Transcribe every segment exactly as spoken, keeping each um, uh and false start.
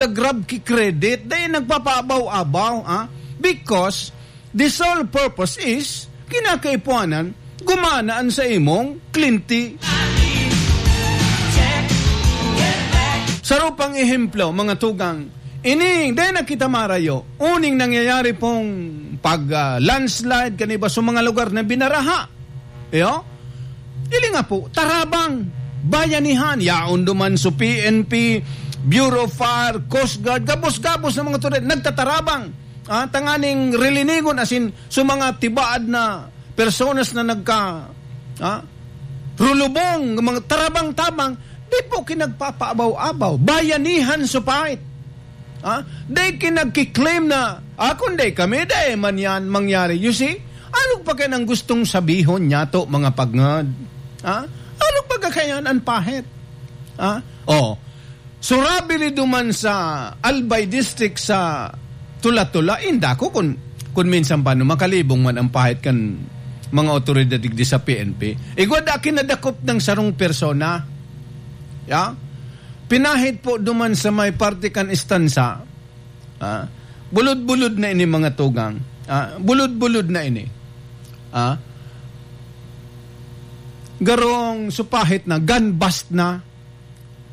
nagga-grab ki credit, dai nagpapaabaw-abaw, ah? Because the sole purpose is, kinakaipuanan, gumana an sa imong kliyente. Saro pang ehemplo, mga tugang, ini, dai na kita marayo, uning nangyayari pong pag, ah, landslide, kan iba sa mga lugar na binaraha. Iyo? Ili nga po, tarabang, bayanihan, yaon duman sa P N P, Bureau of Fire, Coast Guard, gabos-gabos na mga otoridad, nagtatarabang. Ah, tanganing rilinigon, asin, sa mga tibaad na personas na nagka, ah, rulubong, mga tarabang-tabang, di po kinagpapaabaw-abaw, bayanihan sa pait. Ha? Dai ki nagki-claim na, "Ah, kun dai kami, dai man yan mangyari." You see? Ano pa kaya nang gustong sabihon niyato, mga pagngad? Ha? Ano pa kaya an pahit? Ha? Oh, surabi ni duman sa Albay District sa Tula-Tula, inda ko kun, kun minsan pa, no, makalibong man ang pahit kan mga otoridad digdi sa P N P. Igwa da kinadakop ng sarong persona. Ya? Pinahit po duman sa may parte kan istansa. Ah, bulod-bulod na ini, mga tugang. Ah, bulod-bulod na ini. Ah, garong supahit na, gun bust na,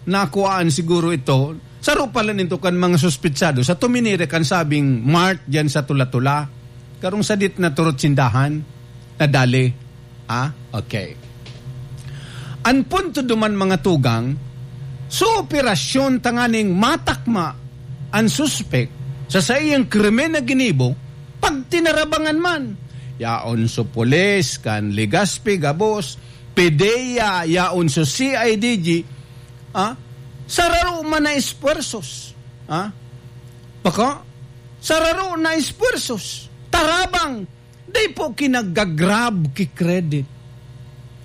nakuhaan siguro ito. Saro pala ninto kan mga suspitsado sa tuminiri kan sabing mart diyan sa Tula-Tula. Garong sadit na turot sindahan. Nadali. Ah, okay. An punto duman, mga tugang, sa operasyon tanganing matakma an suspek sa saiyang krimen na ginibo, pagtinarabangan man. Yaon sa pulis, kan Legazpi, gabos, PDEA, yaon sa C I D G, ah, sararo man na esfuerzos. Ah, bako? Sararo na esfuerzos. Tarabang. Dai po kinagagrab ki credit.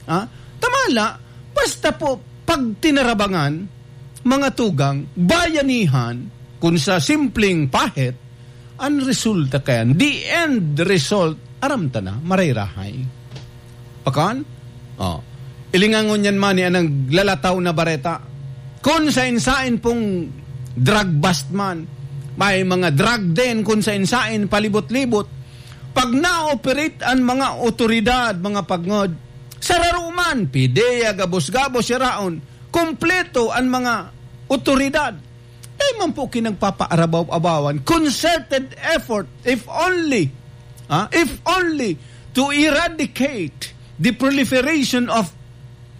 Ha? Tamala, basta po pagtinarabangan, mga tugang, bayanihan, kun sa simpleng pahit, ang resulta kayan, the end result, aram ta na, marayrahay. Pakan? Oh. Ilingangon yan man ni ang naglalataw na bareta. Kun sain-sain pong drug bust man, may mga drug den kun sain-sain palibot-libot. Pag na-operate an mga otoridad, mga pagngod, sararo man, PDEA, gabos-gabos, siraon, kompleto an mga otoridad. Dai man po kinagpapaarabaw-abawan, concerted effort, if only, ah, if only to eradicate the proliferation of,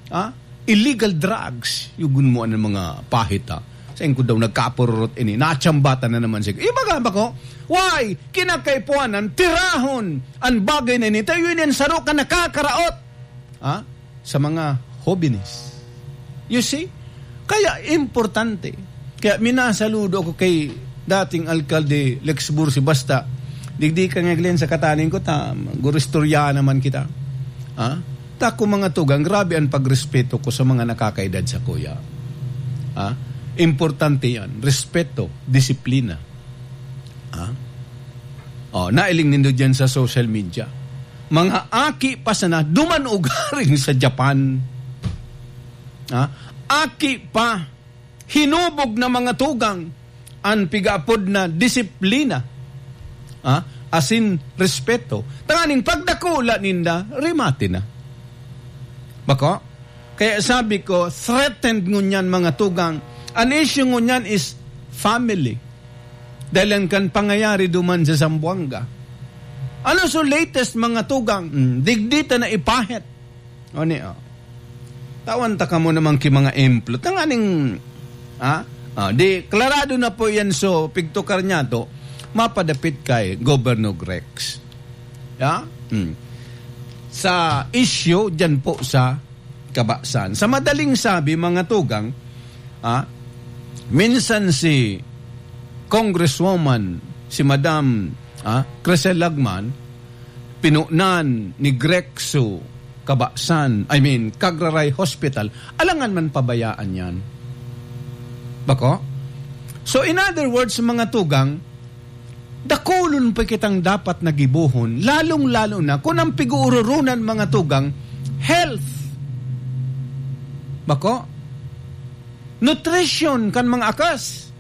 ah, illegal drugs. Yugon mo ang mga pahit, ah. Sain ko daw nagkapururot ini, natsambatan na naman siya. Iba nga ba ko? Why? Kinakaipuanan, tirahon ang bagay na ini. Tayo yun yan, saro ka nakakaraot. Ha? Sa mga hobenes. You see? Kaya importante. Kaya minasaludo ako kay dating Alkalde Lex Bursi, basta digdi ka nga, Glenn, sa kataning ko, ta, gurustorya naman kita. Ha? Tako, mga tugang, grabe ang pagrespeto ko sa mga nakakaedad sa kuya. Ha? Importante yan. Respeto, disiplina. Ha? Oh, nailing nindo dyan sa social media. Mga aki pa sana, duman ugaring sa Japan. Ha? Aki pa, hinubog na mga tugang, an pigaapod na disiplina. Ha? Asin respeto. Tanganing pagdakula ninda, remate na. Bako? Kaya sabi ko, threatened ngunyan, mga tugang. An issue ngunyan is family. Dahil kan pangayari duman sa Zamboanga. Ano so latest, mga tugang? Hmm, digdi ta na ipahit. O ni, oh. Tawan ta kamo naman ki mga emplo. Tanganing, ha? Ah, di, klarado na po yan, so, pigtukar niya to, mapadapit kay Governor Grex. Ya? Hmm. Sa issue, dyan po sa Kabasan. Sa madaling sabi, mga tugang, ah, minsan si Congresswoman, si Madam, ah, Crisel Lagman, pinunan ni Grexo Kabasan, I mean, Cagraray Hospital, alangan man pabayaan yan. Bako? So, in other words, mga tugang, dakulon pa kitang dapat na gibohon, lalong-lalo na kun ang pig-uururunan, mga tugang, health. Bako? Nutrition kan mga akas.